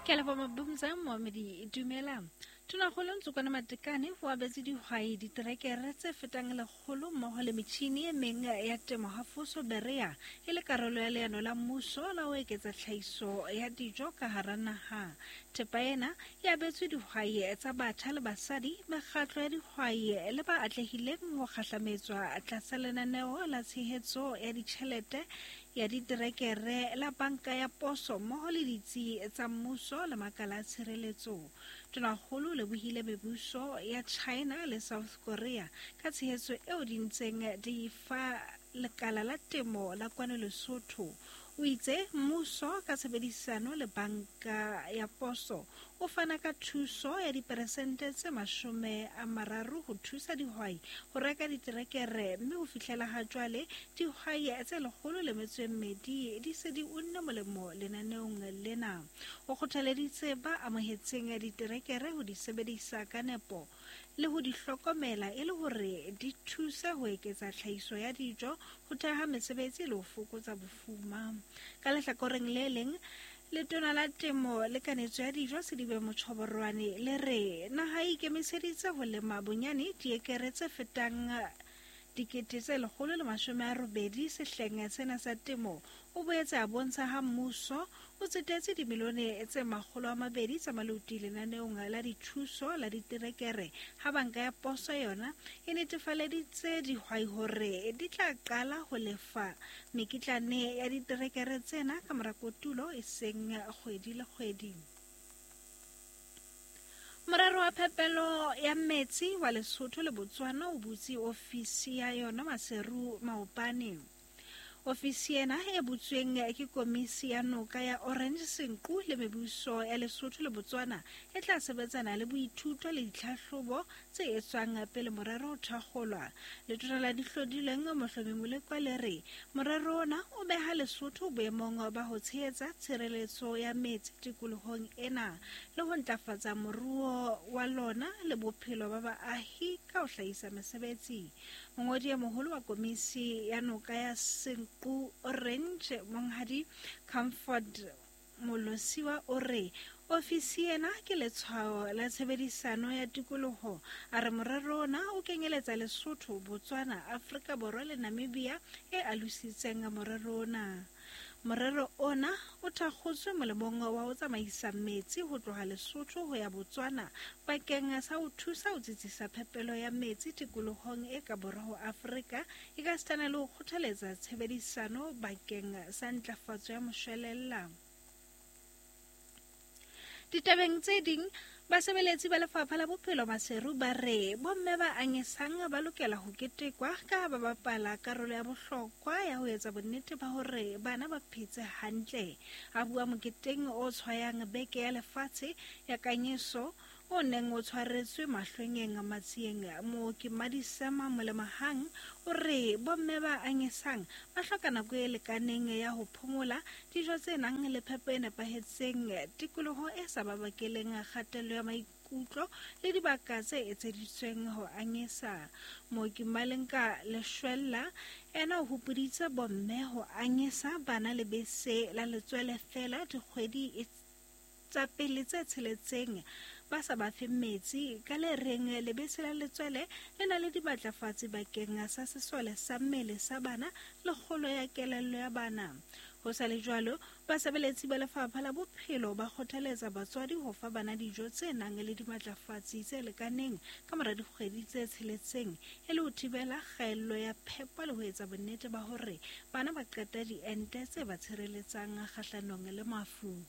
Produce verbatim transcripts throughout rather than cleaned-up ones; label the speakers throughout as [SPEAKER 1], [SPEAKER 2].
[SPEAKER 1] Ke a leboha Mabumza Mohamedi dumela. Tonakgolo Ntsokwana Matekane o abetse dihwai diterekere tse fetang lekgolo mmoho le metjhini e meng ya temo hafoso Berea e le karolo ya leano la mmuso la ho eketsa tlhahiso ya dijo ka hara naha. Thepa ena e abetswe dihwai tsa batjha le basadi, mekgatlo ya dihwai le ba atlehileng ho kgahlametswa tlasa lenaneo la tshehetso ya ditjhelete ya diterekere la banka ya poso mmoho le ditsi tsa mmuso le makala a tshireletso. Tonakgolo o lebohile mebuso ya China le South Korea ka tshehetso eo di ntseng di fa lekala la temo la kwano Lesotho. O itse mmuso ka tshebedisano le banka ya poso o fana ka thuso ya diperesente tse mashome a mararo ho thusa dihwai ho reka diterekere, mme ho fihlela ha jwale dihwai tse lekgolo le metso e mmedi di se di unne molemo lenaneong lena. O kgothaleditse ba amohetseng diterekere ho di sebedisa ka nepo le ho di hlokomela e le hore di thuse ho eketsa tlhahiso ya dijo, ho theha mesebetsi le ho fokotsa bofuma. Ka lehlakoreng le leng, letona la temo le kanetso ya dijo Sedibe Motjhoborwane le re naha e ikemiseditse ho lema bonyane diekere tse fetang dikete tse lekgolo le mashome a robedi sehleng sena sa temo. O boetse a bontsha ha mmuso o tsetetse dimilione tse makgolo a mabedi tsa maluti lenaneong la dithuso la diterekere, ha banka ya poso yona e netefaleditse dihwai hore di tla qala ho lefa mekitlane ya diterekere tsena ka mora kotulo e seng kgwedi le kgwedi. Morero wa phepelo ya metsi wa Lesotho le Botswana o butse ofisi ya yona Maseru maobane. Ofisi ena e butsweng ke komisi ya noka ya Orange Senqu le mebuso ya Lesotho le Botswana e tla sebetsana le boithuto le ditlhahlobo tse etswang pele morero o thakgolwa. Letona la dihlodilweng Mohlomi Molekwa le re morero ona o beha Lesotho boemong ba ho tshehetsa tshireletso ya metsi tikolohong ena le ho ntlafatsa moruo wa lona le bophelo ba baahi ka ho hlahisa mesebetsi. Mongodi e moholo wa komisi ya noka ya Senqu Orange Monghadi Comfort Molosiwa o re ofisi ena ke letshwao la tshebedisano ya tikoloho. A re morero ona o kenyeletsa Lesotho, Botswana, Afrika Borwa le Namibia e alositseng morero ona. Morero ona o thakgotswe molemong wa ho tsamaisa metsi ho tloha Lesotho ho ya Botswana bakeng sa ho thusa ho tsitsisa phepelo ya metsi tikolohong e ka borwa ho Afrika, e ka sitana le ho kgothaletsa tshebedisano bakeng sa ntlafatso ya moshwelella. Ditabeng tse ding, basebeletsi ba lefapha la bophelo Maseru ba re bomme ba anyesang ba lokela ho ketekwa ka ha ba bapala karolo ya bohlokwa ya ho etsa bonnete ba hore bana ba phetse hantle. A bua moketeng o tshwayang beke ya lefatshe ya kanyeso o neng o tshwaretswe Mahlwenyeng Matsieng, mooki Madisema Molemahang o re bomme ba anyesang ba hloka nako e lekaneng ya ho phomola, dijo tse nang le phepo e nepahetseng, tikoloho e sa ba bakeleng kgatello ya maikutlo le dibaka tse etseditsweng ho anyesa. Mooki Malenka Leshwella ena o hopoditse bomme ho anyesa bana lebese la letswele fela dikgwedi tsa pele tse tsheletseng ba sa ba fe metsi, ka le reng lebese la letswele le na le dimatlafatsi bakeng sa sesole sa mmele sa bana le kgolo ya kelello ya bana. Ho sa le jwalo, basebeletsi ba lefapha la bophelo ba kgothaletsa batswadi ho fa bana dijo tse nang le dimatlafatsi tse lekaneng ka mora dikgwedi tse tsheletseng e le ho thibela kgaello ya phepo le ho etsa bonnete ba hore bana ba qeta diente tse ba tshireletsang kgahlanong le mafu.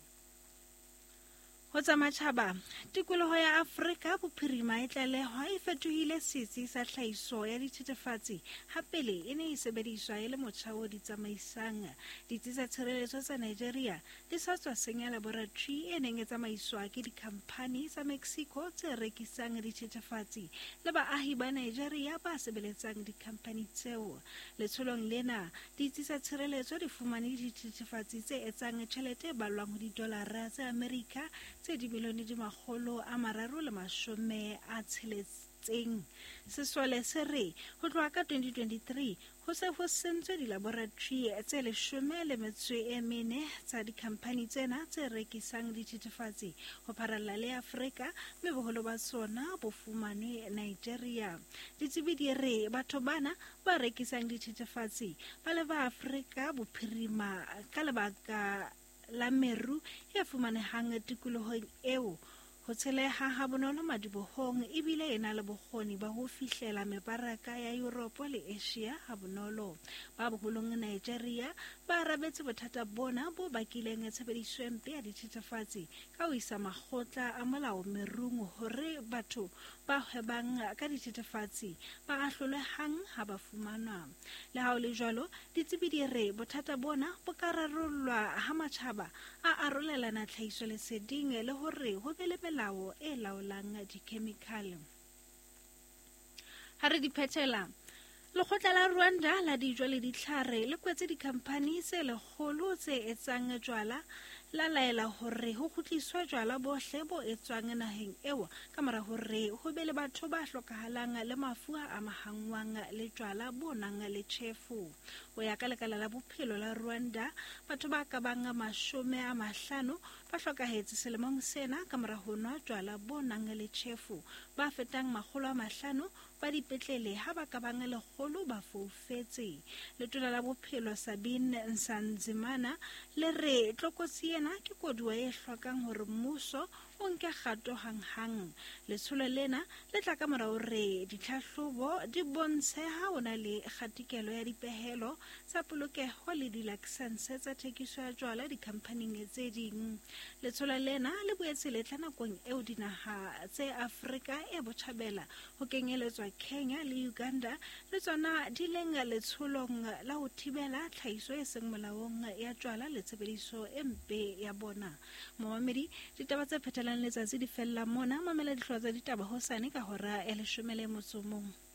[SPEAKER 1] Ho tsa matjhaba, tikoloho ya Afrika Bophirima e tlalehwa e fetohile setsi sa tlhahiso ya dithethefatsi ha pele e ne e sebediswa e le motjha o di tsamaisang. Ditsi tsa tshireletso tsa Nigeria di sa tswa senya laboratory e neng e tsamaiswa ke dikhamphani tsa Mexico tse rekisang dithethefatsi le baahi ba Nigeria ba sebeletsang dikhamphani tseo. Letsholong lena, ditsi tsa tshireletso di fumane dithethefatsi tse etsang tjhelete e ballwang ho didolara tsa Amerika tse dimilione di makgolo a mararo le mashome a tsheletseng. Sesole se re ho tloha ka twenty twenty-three ho se ho sentswe dilaboratory tse leshome le metso e mene tsa dikhamphani tsena tse rekisang dithethefatsi ho pharalla le Afrika, mme boholo ba tsona bo fumanwe Nigeria. Ditsebi di re batho bana ba rekisang dithethefatsi ba leba Afrika bophirima ka lebaka la meru e fumanehang tikolohong eo. Ho tsheleha ha bonolo madibohong ebile e na le bokgoni ba ho fihlela mebaraka ya Europe le Asia ha bonolo. Ba boholong Nigeria ba arabetse bothata bona bo bakileng tshebediso e mpe ya dithethefatsi ka ho isa makgotla a molao merung hore batho ba hwebang ka dithethefatsi ba ahlolwe hang ha ba fumanwa. Le ha ho le jwalo, ditsebi di re bothata bona bo ka rarollwa ha matjhaba a arolelana tlhahisoleseding le hore ho be le melao e laolang dikhemikhale. Ha re di phethela, lekgotla la Rwanda la dijo le ditlhare le kwetse dikhamphani tse lekgolo tse etsang jwala la laela hore ho kgutliswe jwala bohle bo etswang naheng eo ka mora hore ho be le batho ba hlokahalang le mafu a amahangwang le jwala bo nang le tjhefu. Ho ya ka lekala la bophelo la Rwanda, batho ba ka bang mashome a mahlano ba hlokahetse selemong sena ka mora ho nwa jwala bo nang le tjhefu. Ba fetang makgolo a mahlano ba dipetlele ha ba ka bang lekgolo ba foufetse. Letona la bophelo Sabine Nsanzimana le re tlokotsi ena ke koduwa e hlokang hore mmuso o nke kgato hanghang. Letsholo lena le tla ka mora hore ditlhahlobo di bontshe ha ho na le kgatikelo ya dipehelo tsa polokeho le dilakesense tsa thekiso ya jwala dikhamphaning tse ding. Letsholo lena le boetse le tla nakong eo dinaha tse Afrika e botjhabela ho kenyeletswa Kenya le Uganda le tsona di leng letsholong la ho thibela tlhahiso e seng molaong ya jwala le tshebediso e mpe ya bona. Momamedi, ditaba tse phethelang letsatsi di fella mona. Mamela dihlooho tsa ditaba hosane ka hora ya leshome le motso o mong.